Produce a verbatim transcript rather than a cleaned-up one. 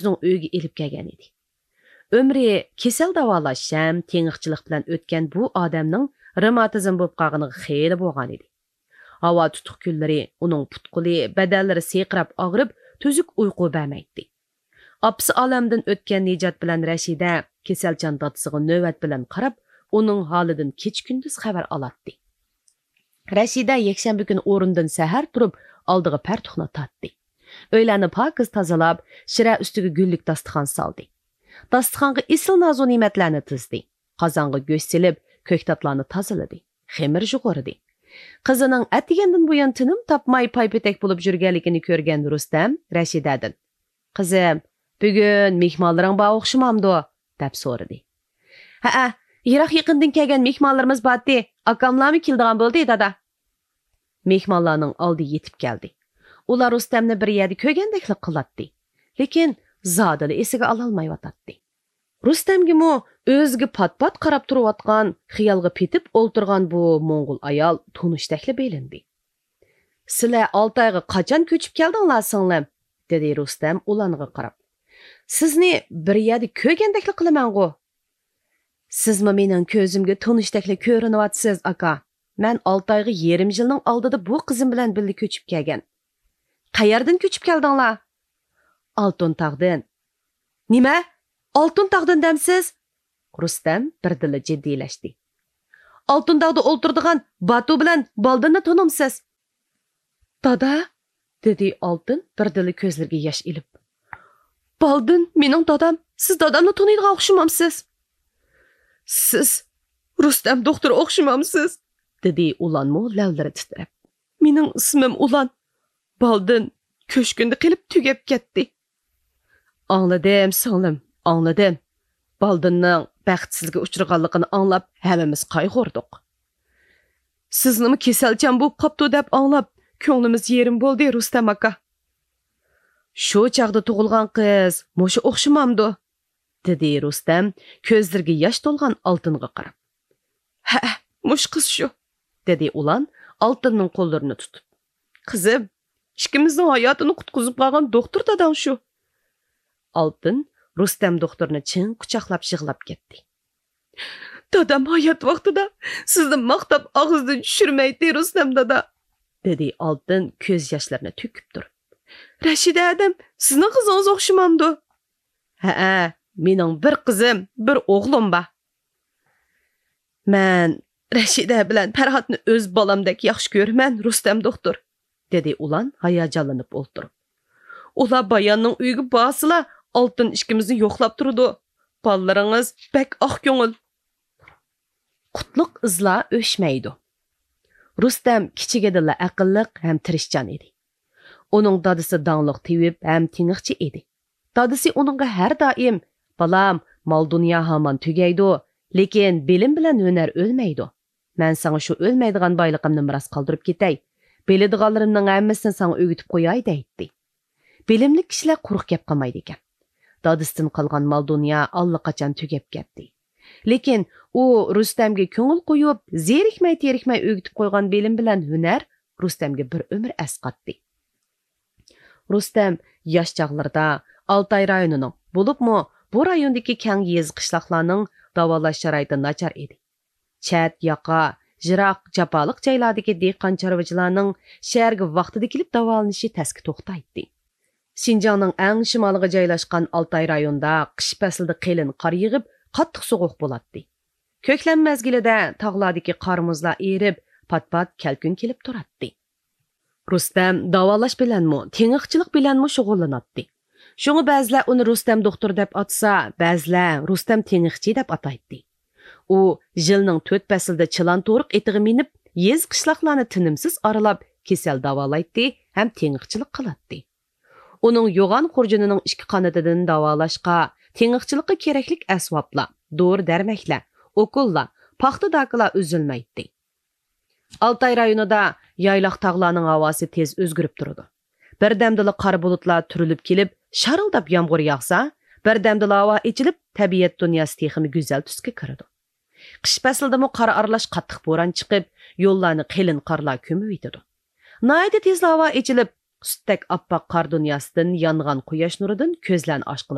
ئۆزىنىڭ ئۆيىگە ئېلىپ كەلگەن ئىدى. ئۆمرى كېسەل داۋالاش ھەم تېڭىقچىلىق بىلەن ئۆتكەن بۇ ئادەمنىڭ رېماتىزم بولۇپ قالغىنىغا خېلى بولغان ئىدى. ھاۋا تۇتۇق كۈنلىرى ئۇنىڭ پۇت-قولى، بەدەنلىرى سىرقىراپ ئاغرىپ، تۈزۈك ئۇيقۇ بەرمەيتتى. ئاپىسى ئالەمدىن ئۆتكەن نىجات بىلەن رەشىدە كېسەلچان دادىسىغا نۆۋەت بىلەن قاراپ، ئۇنىڭ ھالىدىن كېچە-كۈندۈز خەۋەر ئالاتتى. رەشىدە يەكشەنبە كۈنى ئورنىدىن سەھەر تۇرۇپ، ئالدىغا پەرتۇقنى تارتتى. ئۆيلەرنى پاكىز تازىلاپ، شىرە ئۈستىگە گۈللۈك داستىخان سالدى. داستىخانغا ئېسىل نازۇنېمەتلەرنى تىزدى. قازانغا گۆش سېلىپ، كۆكتاتلارنى تازىلىدى. خېمىر يۇغۇرىدى. قىزىنىڭ ئەتىگەندىن بۇيان تىنىم تاپماي پايپېتەك بولۇپ يۈرگەنلىكىنى كۆرگەن رۇستەم رەشىدەدىن، «قىزىم، بۈگۈن مېھمانلىرىڭ بار ئوخشىمامدۇ؟» دەپ سورىدى. «ھەئە، يىراق-يېقىندىن كەلگەن مېھمانلىرىمىز بارتى، ئاكاملارمۇ كېلىدىغان بولدى، دادا.» مېھمانلارنىڭ ئالدى يېتىپ كەلدى. ئۇلار رۇستەمنى بىر يەردە كۆرگەندەكلا قىلاتتى. لېكىن زادىلا ئېسىگە ئالالمايۋاتاتتى. رۇستەمگىمۇ ئۆزىگە پات-پات قاراپ تۇرۇۋاتقان، خىيالغا پېتىپ ئولتۇرغان بۇ موڭغۇل ئايال تونۇشتەكلا بىلىندى. «سىلەر ئالتايغا قاچان كۆچۈپ كەلدىڭلار، سىڭلىم؟» دېدى رۇستەم ئۇلارغا قاراپ. «سىزنى بىر يەردە كۆرگەندەكلا قىلىمەنغۇ.» «سىزمۇ مېنىڭ كۆزۈمگە تونۇشتەكلا كۆرۈنۈۋاتىسىز، ئاكا. مەن ئالتايغا يېرىم يىلنىڭ ئالدىدا بۇ قىزىم بىلەن بىللە كۆچۈپ كەلگەن.» «قەيەردىن كۆچۈپ كەلدىڭلار؟» «ئالتۇن تاغدىن.» «نېمە؟ ئالتۇن تاغدىن دەمسىز؟» رۇستەم بىردىنلا جىددىيلەشتى. «ئالتۇن تاغدا ئولتۇرىدىغان باتۇ بىلەن بالدىننى تونۇمسىز؟» «دادا؟» دېدى ئالتۇن بىردىنلا كۆزلىرىگە ياش ئېلىپ. «بالدىن مېنىڭ دادام، سىز دادامنى تونۇيدىغان ئوخشىمامسىز؟» «سىز رۇستەم دوختۇر ئوخشىمامسىز؟» دېدى ئۇلانمۇ لەۋلىرى تىترەپ. «مېنىڭ ئىسمىم ئۇلان. بالدىن كۆشكۈندە قېلىپ تۈگەپ كەتتى.» «ئاڭلىدىم، سىڭلىم، ئاڭلىدىم. بالدىننىڭ بەختسىزلىككە ئۇچرىغانلىقىنى ئاڭلاپ، ھەممىمىز قايغۇردۇق. سىزنىمۇ كېسەلچان بولۇپ قاپتۇ دەپ ئاڭلاپ، كۆڭلىمىز يېرىم بولدى، رۇستەم ئاكا.» «شۇ چاغدا تۇغۇلغان قىز مۇشۇ ئوخشىمامدۇ؟» دېدى رۇستەم كۆزلىرىگە ياش تولغان ئالتۇنغا قاراپ. «ھەئە، مۇشۇ قىز شۇ.» دېدى ئۇلان ئالتۇننىڭ قوللىرىنى تۇتۇپ. «قىزىم، ئىككىمىزنىڭ ھاياتىنى قۇتقۇزۇپ قالغان دوختۇر داداڭ شۇ.» ئالتۇن رۇستەم دوختۇرنى چىڭ قۇچاقلاپ يىغلاپ كەتتى. «دادام ھايات ۋاقتىدا سىزنى ماختاپ ئاغزىدىن چۈشۈرمەيتتى، رۇستەم دادا.» دېدى ئالتۇن كۆز ياشلىرىنى تۆكۈپ تۇرۇپ. «رەشىدە ھەدەم سىزنىڭ قىزىڭىز ئوخشىمامدۇ؟» «ھەئە، مېنىڭ بىر قىزىم، بىر ئوغلۇم بار.» «مەن رەشىدە بىلەن پەرھاتنى ئۆز بالامدەك ياخشى كۆرىمەن، رۇستەم دوختۇر.» دېدى ئۇلان ھاياجانلىنىپ ئولتۇرۇپ. «ئۇلار باياننىڭ ئۆيىگە بارسىلا، ئالتۇن ئىككىمىزنى يوقلاپ تۇرىدۇ. بالىلىرىڭىز بەك ئاق كۆڭۈل.» قۇتلۇق ئىزلار ئۆچمەيدۇ. رۇستەم كىچىكىدىنلا ئەقىللىق ھەم تىرىشچان ئىدى. ئۇنىڭ دادىسى داڭلىق تېۋىپ ھەم تېڭىقچى ئىدى. دادىسى ئۇنىڭغا ھەر دائىم، «بالام، مال-دۇنيا ھامان تۈگەيدۇ، لېكىن بىلىم بىلەن ھۈنەر ئۆلمەيدۇ. مەن ساڭا شۇ ئۆلمەيدىغان بايلىقىمنى مىراس قالدۇرۇپ كېتەي. بىلىدىغانلىرىمنىڭ ھەممىسىنى ساڭا ئۆگىتىپ قوياي» دەيتتى. بىلىملىك كىشىلەر قۇرۇق گەپ قىلمايدىكەن. دادىسىدىن قالغان مال-دۇنيا ئاللىقاچان تۈگەپ كەتتى. لېكىن ئۇ رۇستەمگە كۆڭۈل قويۇپ، زېرىكمەي-تېرىكمەي ئۆگىتىپ قويغان بىلىم بىلەن ھۈنەر رۇستەمگە بىر ئۆمۈر ئەسقاتتى. رۇستەم ياش چاغلىرىدا ئالتاي رايونىنىڭ، بولۇپمۇ بۇ رايوندىكى كەڭ يېزا-قىشلاقلارنىڭ داۋالاش شارائىتى ناچار ئىدى. چەت، ياقا، يىراق، جاپالىق جايلاردىكى دېھقان-چارۋىچىلارنىڭ شەھەرگە ۋاقتىدا كېلىپ داۋالىنىشى تەسكە توختايتتى. شىنجاڭنىڭ ئەڭ شىمالىغا جايلاشقان ئالتاي رايونىدا قىش پەسلىدە قېلىن قار يېغىپ، قاتتىق سوغۇق بولاتتى. كۆكلەم مەزگىلىدە تاغلاردىكى قار-مۇزلار ئېرىپ، پات-پات كەلكۈن كېلىپ تۇراتتى. رۇستەم داۋالاش بىلەنمۇ، تېڭىقچىلىق بىلەنمۇ شۇغۇللىناتتى. شۇڭا بەزىلەر ئۇنى رۇستەم دوختۇر دەپ ئاتىسا، بەزىلەر رۇستەم تېڭىقچى دەپ ئاتايتتى. ئۇ يىلنىڭ تۆت پەسلىدە چىلان-تورۇق ئېتىغا مىنىپ، يېزا-قىشلاقلارنى تىنىمسىز ئارىلاپ، كېسەل داۋالايتتى ھەم تېڭىقچىلىق قىلاتتى. ئۇنىڭ يوغان خۇرجۇنىنىڭ ئىككى قانىتىدىن داۋالاشقا، تېڭىقچىلىققا كېرەكلىك ئەسۋابلار، دورا-دەرمەكلەر، ئوكۇللار، پاختا داكىلار ئۈزۈلمەيتتى. ئالتاي رايونىدا يايلاق تاغلارنىڭ ھاۋاسى تېز ئۆزگىرىپ تۇرىدۇ. بىردەمدىلا قارا بۇلۇتلار تۈرۈلۈپ كېلىپ، شارىلداپ يامغۇر ياغسا، بىردەمدىلا ھاۋا ئېچىلىپ، تەبىئەت دۇنياسى تېخىمۇ گۈزەل تۈسكە كىرىدۇ. قىش پەسلىدىمۇ قار ئارىلاش قاتتىق بوران چىقىپ، يوللارنى قېلىن قارلار كۆمۈۋېتىدۇ. ناھايىتى تېزلا ھاۋا ئېچىلىپ، سۈتتەك ئاپئاق قار دۇنياسىدىن يانغان قۇياش نۇرىدىن كۆزلەرنى ئاچقىلى